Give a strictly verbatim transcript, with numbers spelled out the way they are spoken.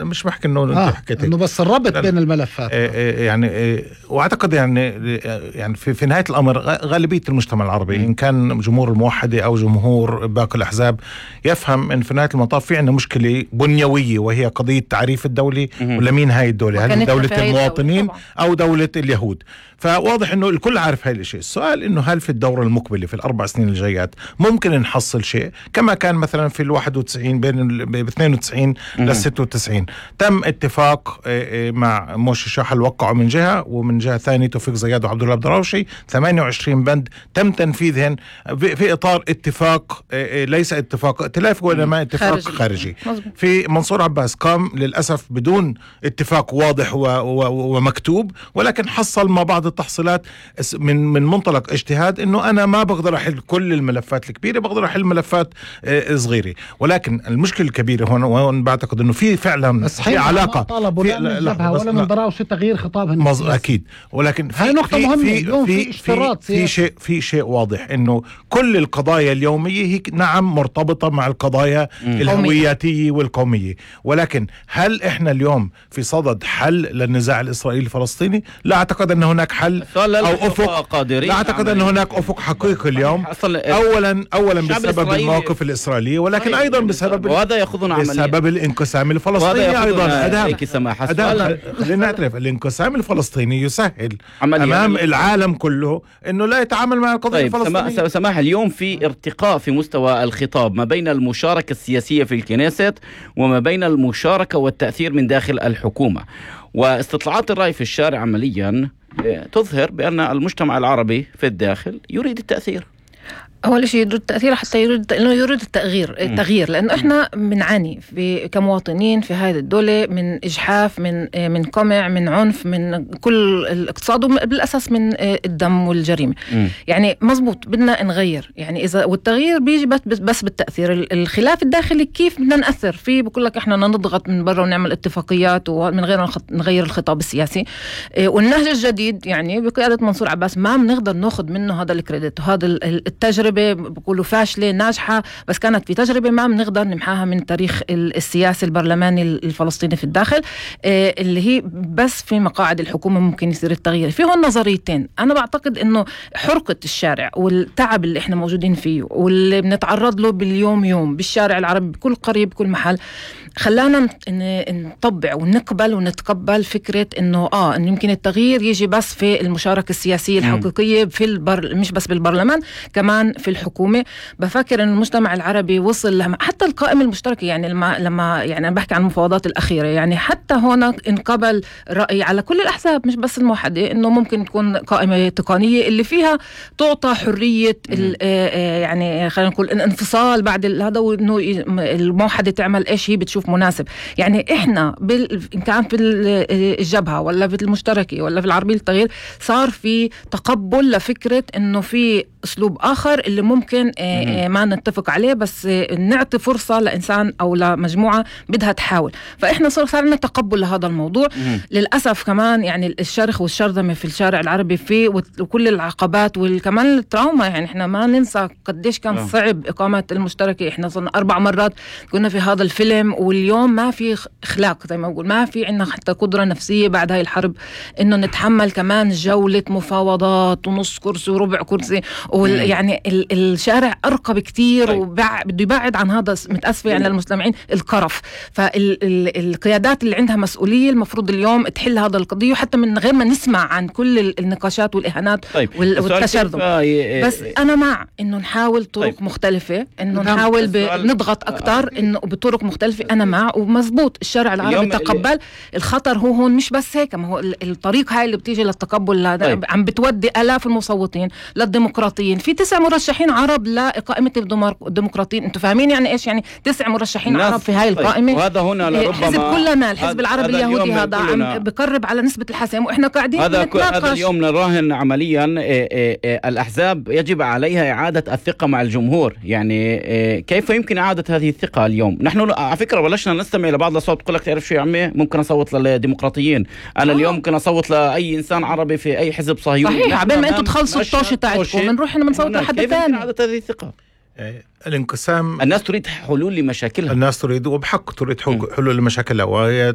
مش بحكي انه انت آه حكيت انه بس الربط بين الملفات. آه آه يعني آه واعتقد يعني يعني في, في نهايه الامر غالبيه المجتمع العربي م. ان كان جمهور الموحده او جمهور باقي الاحزاب يفهم ان في نهايه المطاف في عندنا مشكله بنيويه، وهي قضيه تعريف الدوله ولا مين هاي الدوله، هل دوله المواطنين او دوله اليهود. فواضح انه الكل عارف هاي الشيء. السؤال انه هل في الدوره المقبله في الاربع سنين الجايات ممكن نحصل شيء كما كان مثلا في الواحد وتسعين بين ب اثنين وتسعين للستة وتسعين تم اتفاق مع موشي شاحل وقعوا من جهه، ومن جهه ثانيه توفيق زياد وعبد الله الدراوشي ثمانية وعشرين بند تم تنفيذهن في اطار اتفاق ليس اتفاق ائتلافي وانما اتفاق خارجي, خارجي. في منصور عباس قام للاسف بدون اتفاق واضح و و ومكتوب، ولكن حصل ما بعض التحصيلات من من منطلق اجتهاد انه انا ما بقدر احل كل الملفات الكبيره، بقدر احل ملفات صغيره. ولكن المشكله الكبيره هون وهون بعتقد انه في فعلا في علاقه طالبوا لا من جبهه ولا من دراوشي تغيير خطابهم مز... اكيد، ولكن في نقطه مهمه في اليوم في, في اشتراط في, في شيء في شيء واضح انه كل القضايا اليوميه هي نعم مرتبطه مع القضايا م. الهوياتيه والقوميه، ولكن هل احنا اليوم في صدد حل للنزاع الاسرائيلي الفلسطيني؟ لا اعتقد ان هناك حل او افق، لا اعتقد ان هناك افق حقيقي اليوم. اولا اولا بسبب المواقف الاسرائيليه، ولكن ايضا بسبب وهذا ياخذنا بسبب الانقسام الفلسطيني ايضا. هذا خلينا نعترف الانقسام الفلسطيني يسهل امام العالم كله انه لا يتعامل مع القضيه طيب الفلسطينيه. سماح، اليوم في ارتقاء في مستوى الخطاب ما بين المشاركه السياسيه في الكنيست وما بين المشاركه والتاثير من داخل الحكومه، واستطلاعات الرأي في الشارع عمليا تظهر بأن المجتمع العربي في الداخل يريد التأثير. أول شيء يريد التأثير حتى يريد إنه يريد التغيير التغيير لأنه إحنا بنعاني في كمواطنين في هذه الدولة من إجحاف، من من قمع، من عنف، من كل الاقتصاد، وبالأساس من الدم والجريمة. م. يعني مزبوط بدنا نغير، يعني إذا والتغيير بيجي بس بالتأثير. الخلاف الداخلي كيف بدنا نأثر فيه؟ بقول لك إحنا نضغط من برا ونعمل اتفاقيات ومن غير نغير الخطاب السياسي. والنهج الجديد يعني بقيادة منصور عباس ما بنقدر ناخذ منه هذا الكريدت وهذا التجربة بقولوا فاشلة ناجحة، بس كانت في تجربة ما بنقدر نمحاها من تاريخ السياسي البرلماني الفلسطيني في الداخل، اللي هي بس في مقاعد الحكومة ممكن يصير التغيير. في هون نظريتين. أنا بعتقد إنه حرقة الشارع والتعب اللي إحنا موجودين فيه واللي بنتعرض له باليوم يوم بالشارع العربي بكل قرية بكل محل خلانا نطبع ونقبل ونتقبل فكرة إنه آه إنه يمكن التغيير يجي بس في المشاركة السياسية الحقيقية في البر مش بس بالبرلمان كمان في الحكومة. بفكر إن المجتمع العربي وصل لما حتى القائمة المشتركة، يعني لما لما يعني أنا بحكي عن المفاوضات الأخيرة، يعني حتى هنا انقبل رأي على كل الأحزاب مش بس الموحدة إنه ممكن تكون قائمة تقنية اللي فيها تعطى حرية يعني خلينا نقول الانفصال بعد هذا، وإنه الموحدة تعمل إيش هي بتشوف مناسب. يعني إحنا بال... إن كان في الجبهة ولا في المشتركة ولا في العربية التغيير صار في تقبل لفكرة إنه في أسلوب آخر اللي ممكن ما نتفق عليه، بس نعطي فرصة لإنسان أو لمجموعة بدها تحاول. فإحنا صار صار لنا تقبل لهذا الموضوع. مم. للأسف كمان يعني الشرخ والشرذمة في الشارع العربي فيه وكل العقبات وكمان التراوما. يعني إحنا ما ننسى قديش كان أوه. صعب إقامة المشتركة. إحنا صرنا أربع مرات كنا في هذا الفيلم، واليوم ما في إخلاق زي ما أقول، ما في عندنا حتى قدرة نفسية بعد هاي الحرب إنه نتحمل كمان جولة مفاوضات ونص كرسي وربع كرسي. يعني الشارع أرقى بكتير وبده يبعد عن هذا. متأسفة يعني للمستمعين القرف. فالقيادات اللي عندها مسؤولية المفروض اليوم تحل هذا القضية، وحتى من غير ما نسمع عن كل النقاشات والإهانات طيب. والتشرذم. بس أنا مع إنه نحاول طرق طيب. مختلفة، إنه نحاول نضغط أكتر إنه بطرق مختلفة. أنا مع ومزبوط الشارع العربي تقبل اللي... الخطر هو هون مش بس هيك، ما هو الطريق هاي اللي بتيجي للتقبل طيب. عم بتودي آلاف المصوتين للديمقراطيين. في تسع مرشحين عرب لإقامة الديمقراطيين. انتوا فاهمين يعني ايش يعني تسع مرشحين عرب في هاي القائمة؟ طيب. وهذا هنا لربما الحزب كلنا الحزب العربي اليهودي هذا عم بقرب على نسبة الحسم واحنا قاعدين هذا نتناقش. هذا اليوم نراهن عمليا إيه إيه إيه الأحزاب يجب عليها إعادة الثقة مع الجمهور. يعني إيه كيف يمكن إعادة هذه الثقة اليوم؟ نحن على فكرة بلشنا نستمع لبعض الأصوات تقول لك تعرف شو يا عمي ممكن أصوت للديمقراطيين، أنا آه. اليوم ممكن أصوت لأي إنسان عربي في أي حزب صهيوني. صحيح، عبين ما أنتوا تخلصوا الطوشة تاعتكم بنروح هنا بنصوت لحد ثاني. إعادة هذه الثقة الانقسام، الناس تريد حلول لمشاكلها، الناس تريد وبحق تريد حلول لمشاكلها، وهي